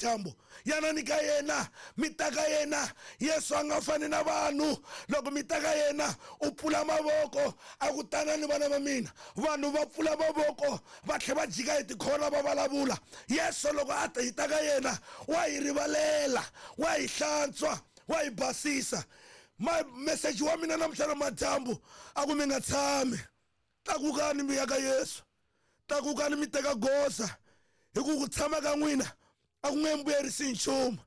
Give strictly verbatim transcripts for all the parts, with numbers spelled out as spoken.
madyambu yanani ka yena mi ta ka yena Yesu a nga fani na vanhu loko mi ta ka yena u pfula mavoko a ku tanani vana va mina vanhu va pfula mavoko va tlhe va jika hi tikhona va vulavula Yesu loko a ta hi ta ka yena wa hi rivalela wa hi hlantswa wa hi basisa ma message wa mina namuntlha na madyambu a ku mi nga tshami tlakukani mi ya ka Yesu tlakukani mi teka goza hi ku ku tshama ka n'wina a ku nge mbuyerisi nchumu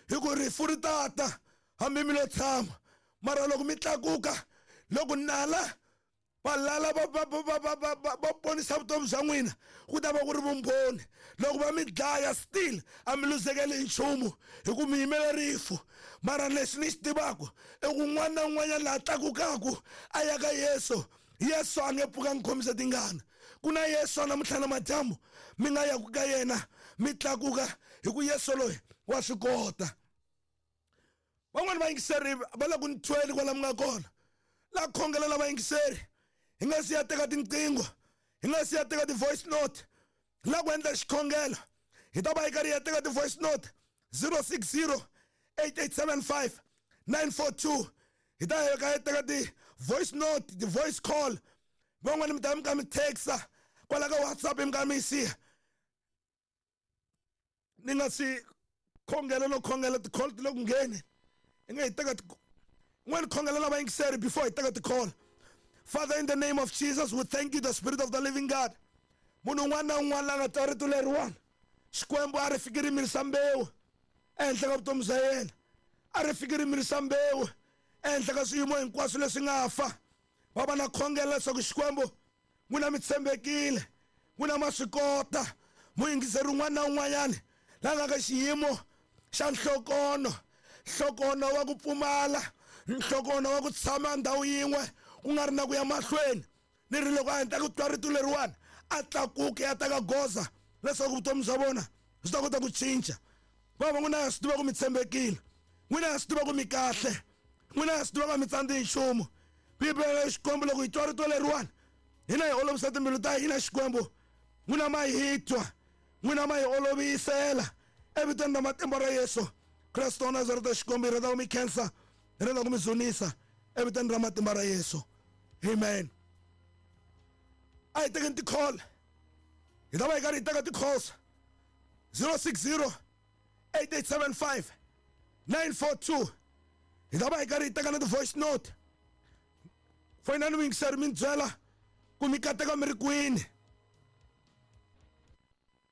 hi ku rifu ri tata hambi mi lo tshama mara loko mi tlakuka loko nala valala va va va va va va va ponisa vutomi bya n'wina ku ta va ku ri vumbhoni loko va mi dlaya still a mi luzekeli hi nchumu hi ku mi yimela rifu mara lexi ni xi tivaka i ku un'wana na un'wanyana laha tlakukaku a ya ka Yesu Yesu a nge pfuka ngi khomisa tingana ku na Yesu namuntlha na madyambu mi nga yaku ka yena mi tlakuka hi ku Yesu loyi wa swi kota van'wani vayingiseri va le ku ni thweni kwala mi nga kona la khongelela vayingiseri hi nga si ya teka tinqingho hi nga si ya teka ti-voice note la ku endla xikhongelo hi ta va hi karhi hi ya teka ti-voice note zero six zero eight eight seven five nine four two hi ta hi ka hi teka ti-voice note ti-voice call van'wani mi ta mi ka mi texa kwala ka WhatsApp mi ka mi yi siya ni nga si khongela no khongela ti-call ti le ku ngheni hi nga hi teka n'wani khongelela vayingiseri before hi teka ti-call. Father, in the name of Jesus, we thank you, the Spirit of the living God. Munhu un'wana na un'wana la nga twa rito leriwani Xikwembu a ri fiki ri mirisa mbewu ehenhla ka vutomi bya yena a ri fiki ri mirisa mbewu ehenhla ka swiyimo hinkwaswo leswi nga fa va va na khongela leswaku Xikwembu n'wina mi tshembekile n'wina ma swi kota muyingiseri un'wana na un'wanyana la nga ka xiyimo xa nhlokono nhlokono wa ku pfumala nhlokono wa ku tshama ndhawu yin'we ku nga ri na ku ya mahlweni ni ri loko a heta ku twa rito leriwani a tlakuke a teka goza leswaku vutomi bya vona byi ta kota ku cinca va va n'wina ya swi tiva ku mi tshembekile n'wina ya swi tiva ku mi kahle n'wina ya swi tiva ku a mi tsandzi hi nchumu Bibele Xikwembu loko hi twa rito leriwani hina hi olovisa timbilu ta hina Xikwembu n'wina ma hi twa n'wina ma hi olovisela evitweni ra matimba ra Yesu Kristo wa Nazareta Xikwembu hi rhandza ku mi khensa hi rhandza ku mi dzunisa evitweni ra matimba ra Yesu amen. A hi tekeni ti-call hi ta va hi karhi hi teka ti-calls zero six zero eight eight seven five nine four two hi ta va hi karhi hi teka na ti-voice note foyinani muyingiseri mi ni byela ku mi kateka mi ri kwini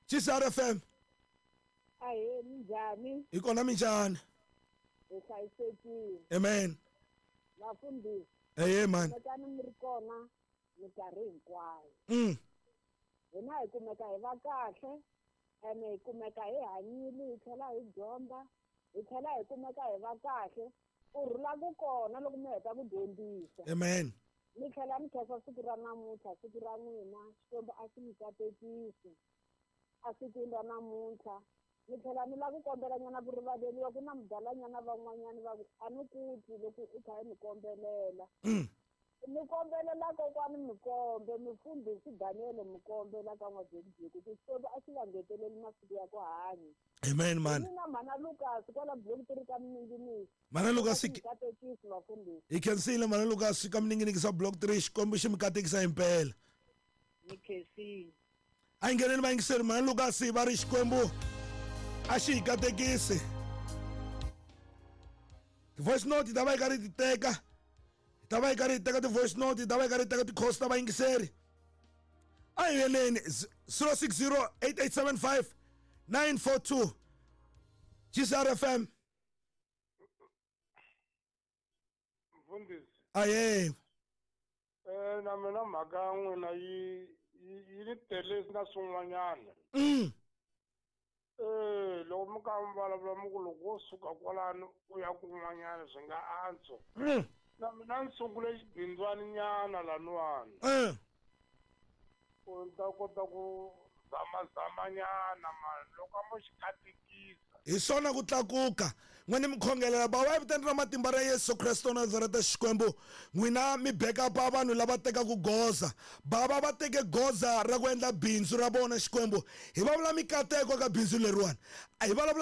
G C R F M Ahee, minjhani hi kona minjhani hi hlayisekile amen vafundhisi ehe mani kumekani mi ri kona minkarhi hinkwayo mm hina hi kumeka hi va kahle ene hi kumeka hi hanyile hi tlhela hi dyondza hi tlhela hi kumeka hi va kahle ku rhula ku kona loko mi heta ku dyondzisa amen mi tlhela mi khensa siku ra namuntlha siku ra n'wina Xikwembu a xi mi katekisi esikwini ra namuntlha mi tlhela mi lava ku kombelanyana ku rivaleriwa ku na mudalanyana van'wanyana va ku a ni ku twi loko u kha i mi kombelela mm mi kombelela kokwani Mukombe mufundhisi Daniel Mukombe la ka N'wabyekubyeku ku Xikwembu a xi va ngeteleli masiku ya ku hanya amen mani mina mhana Lucas kwala block three ka Mininginiki mhana Lucas katekisi vafundhisi hi khensile mhana Lucas ka Mininginiki swa block three Xikwembu xi mi katekisa himpela mi khensile a hi ngheneni vayingiseri mhana Lucas va ri Xikwembu a xi hi katekisi ti-voice note hi ta va hi karhi hi ti teka hi ta va hi karhi hi teka ti-voice note hi ta va hi karhi hi teka ti-calls ta vayingiseri a hi yeneni zero six zero eight eight seven five nine four two G C R F M Mfundhisi aye eh na mina mhaka ya n'wina yi yi ni tele na swin'wanyana mm eh loko mi ka mi vulavula mi ku loko wo suka kwalano u ya kun'wanyana swi nga antswa mm na mina ni sungule xibindzwani nyana laniwani eh ku ni ta kota ku zamazamanyana mani loko a mo xi katekisa hi swona ku tlakuka n'wina mi khongelela bava evitweni ra matimba ra Yesu Kristo wa Nazareta Xikwembu n'wina mi backup-a vanhu lava tekaka goza bava va teke goza ra ku endla bindzu ra vona Xikwembu hi vulavula mikateko ka bindzu leriwani a hi vulavula